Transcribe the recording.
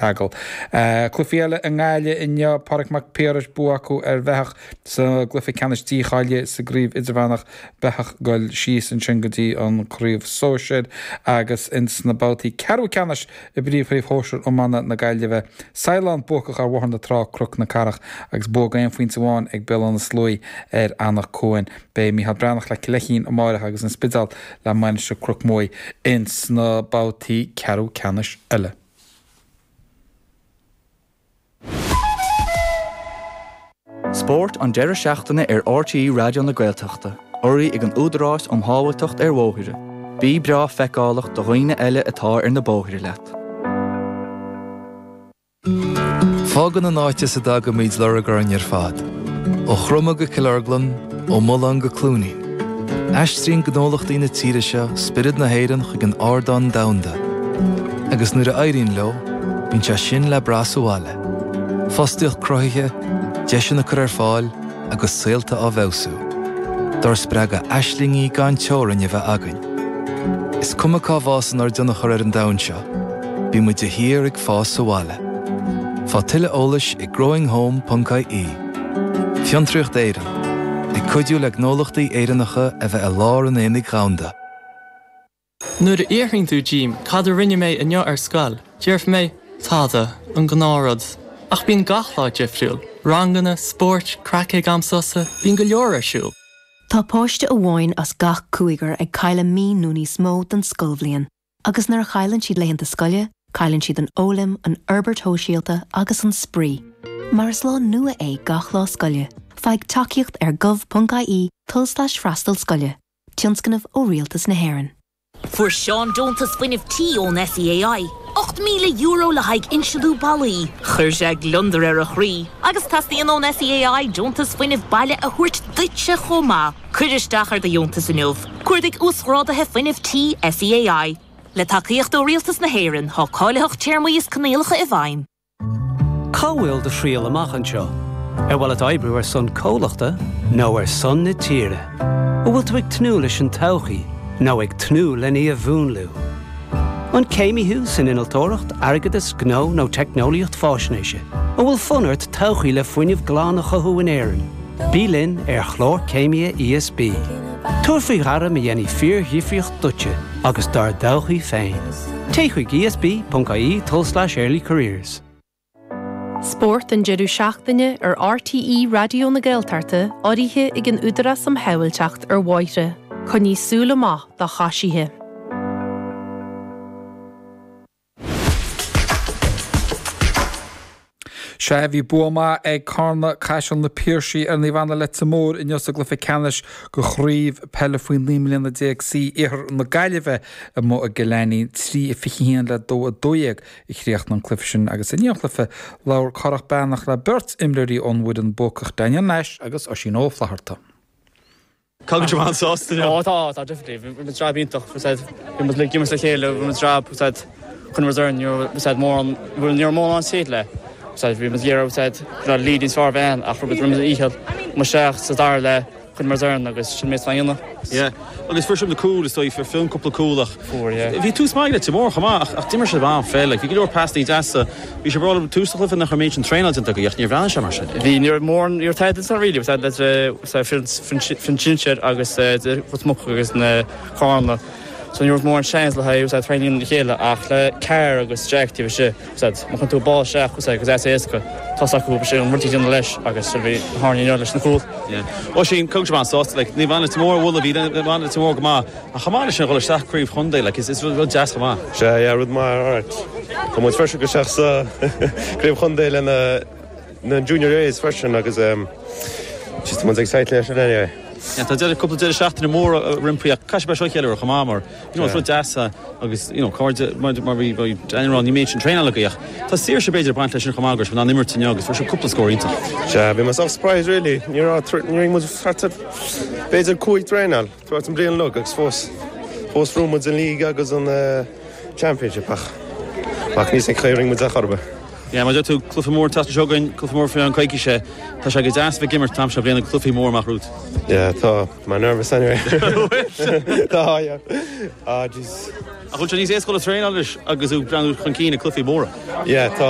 tSeagal. Cluichí eile i nGaillimh inniu, Pádraig Mac Piarais, bua acu ar Bheathach sa gcluiche ceannais dícháilithe sa gcraobh idirmheánach, Beathach ag goil síos ansin go dtí an craobh sóisir agus ins na babhtaí ceathrú ceannais i bPríomhchraobh Shóisir Iomána na Gaillimhe, Saighleán buacach ar Bhóthar na Trá, Cnoc na Cathrach agus bua d'aon phointe amháin ag Béal Átha na Sluaighe ar Anach Cuain. Beidh Micheál Breathnach le Cill Fheichín amáireach agus An Spidéal le Mainistir Cnoc Muaidh ins na babhtaí ceathrú ceannais eile. Spórt an deireadh seachtaine ar RTÉ Raidió na Gaeltachta, urraithe ag an Údarás um Shábháilteacht ar Bhóithre. Bí breá feiceálach do dhaoine eile atá ar na bóithre leat. Fágann an áit as a dtagaimid lorg orainn ar fad, ó Chroma go Cill Orglan, ó Mullán go Cluainín. Aistríonn gnólachtaí na tíre seo spiorad na hÉireann chuig an ardán domhanda. Agus nuair a éiríonn leo, bíonn sé sin le brath sa bhaile. Fostaíocht cruthaithe, deiseanna curtha ar fáil agus saolta á bhfeabhsú. Dár spreagadh aislingí gan teorainn a bheith againn. Is cuma cá bhfásann ár dtionchar ar an domhan seo, bíonn muid de shíor ag fás sa bhaile. Faigh tuilleadh eolais ag growinghome.ie. Fiontraíocht Éireann, ag cuidiú le gnólachtaí Éireannacha a bheith i lár an aonaigh dhomhanda. Nuair a fhiafraíonn tú díom cad a rinne mé inniu ar scoil, déarfaidh mé, tada, an gnáthrud. Ach bíonn gach lá difriúil, ranganna, spóirt, craic ag am sosa, bíonn go leor ar siúl. Tá páiste amháin as gach cúigear ag cailleadh mí nó níos mó den scoilbhliain. Agus nuair a chailleann siad laethanta scoile, cailleann siad an fhoghlaim, an fhorbairt shóisialta agus an spraoi. Mar is lá nua é gach lá scoile, faigh tacaíocht ar gov.ie tulslais freastal scoile, tionscnamh ó Rialtas na hÉireann. Fuair Seán deontas fuinnimh tí ón SEAI, €8,000 le haghaidh insealú ballaí. Chuir sé gliondar ar a chroí. Agus teastaíonn ón SEAI deontas fuinnimh baile a thabhairt duitse chomh maith. Cuir isteach ar do dheontas inniu. Cuardaigh Uasghráduithe Fuinnimh Tí SEAI. Le tacaíocht ó Rialtas na hÉireann, tá cáilitheacht téarmaí is coinníollacha i bhfeidhm. Cá bhfuil do thriall amach anseo? Ar mhaith leat oibriú ar son comhlachta nó ar son na tíre? An bhfuil tú ag tnúth leis an todhchaí nó ag tnúth len í a mhúnlú? An céimí thú san innealtóireacht, airgeadas, gnó nó teicneolaíocht fáisnéise? An bhfuil fonn ort todhchaí le fuinneamh glan a chothú in Éirinn? Bí linn ar Chlár Céimithe ESB. Tabhair faoi ghairm a dhéanfaidh fíordhifríocht duitse agus dár dtodhchaí féin. Téigh chuig esb.ie tulslais earlycareers. Spórt an deireadh seachtaine ar RTÉ Raidió na Gaeltachta urraithe ag an Údarás um Shábháilteacht ar Bhóithre. Coinnigh súil amach do choisithe. Sea, bhí bua maith ag Carna Caiseal na Piarsaigh ar Naomh Anna Leitir Móir inniu sa gcluiche ceannais de chraobh peile faoi 19 mbliana C Iarthar na Gaillimhe amuigh i gCill Ainnín. 3-21 le 2-12 a chríochnaigh an cluiche sin agus i ndiaidh an chluiche labhair Cárthach Breathnach le beirt imreoirí ón bhfoireann buacach, Daniel Nash agus Oisín Ó Flatharta. Caithfidh go bhfuil tú an-sásta inniu? Ó tá, tá, definitely. Bhí muid jab iontach, bhí said, bhí muid ag imirt le chéile, bhí muid jab, bhí said, chun muid ar, ní raibh, bhí said mórán, bhuel ní raibh mórán said le, bhí said, bhí muid ag iarraidh, bhí said, go raibh lead níos fearr a bheith ann ach rinne muid an dícheall, muid isteach sa dara leath, chun muid ar agus sin méid a dhéanamh. Yeah. Agus fuair sibh na cúil is dóigh, fuair Fionn cúpla cúl ach Fuair, yeah. bhí tús maith ag Leitir Móir chomh maith ach, ach d'imir sibh an-pheil, like, bhí go leor pasannaí deasa. Bhí sibh ag rá liom tús an chluiche nach raibh an méid sin traenáil déanta agaibh ach níor bhreathnaigh sé mar sin. Bhí, ní raibh mórán, ní raibh tada déanta really, bhí le foireann sinsir agus Ros Muc agus na Carna so ní raibh mórán seans le haghaidh traenáil le chéile ach le Carr agus Jack taobh istigh má chuireann tú ball isteach agus é éasca tá 's acu sin an rud a dhéanamh leis agus sin bhí tharla inniu leis na cúil. Yeah. Oisín, caithfidh go bhfuil tú an-sásta, like, Naomh Anna Leitir Móir a bhualadh, bhí Naomh Anna Leitir Móir go maith Ach chomh maith leis sin, dhul isteach craobh chontae, like, is is rud deas chomh maith. Sea, yeah, rud maith, alright. Tá muid freisin go isteach sa craobh chontae le na na Junior A's freisin agus um, just tá muid excited leis sin anyway. Yeah, tá deireadh, cúpla deireadh seachtaine mór roimpi ach caithfidh sibh é seo a cheiliúradh chomh maith mar, you know, is rud deas é agus, you know, cairde, mar mar bhí bhí Daniel ag rá, ní méid sin traenáil agaibh ach tá saoirse b'fhéidir ag baint leis sin chomh maith go raibh sibh in ann imirt inniu agus fuair sibh cúpla scór iontach. Sea, bhí mé sort surprised really, ní raibh, ní raibh muid thart ar b'fhéidir cúig traenáil. Throughout an bliain uilig agus fós fós bhuaigh muid an league agus an championship ach ach ní san chaoi a rinne muid é chor ar bith. Yeah, mar a deir tú, cluiche mór an tseachtain seo chugainn, cluiche mór faoi cheann coicíse. Tá sé go deas bheith ag imirt an t-am seo bliana, cluichí mór amach romhat. Yeah, tá. Tá mé nervous anyway. Tá, yeah. Ah, jeez. Ach bhfuil sé níos éasca le traenáil anois agus tú ag breathnú chun cinn ag cluichí móra? Yeah, tá.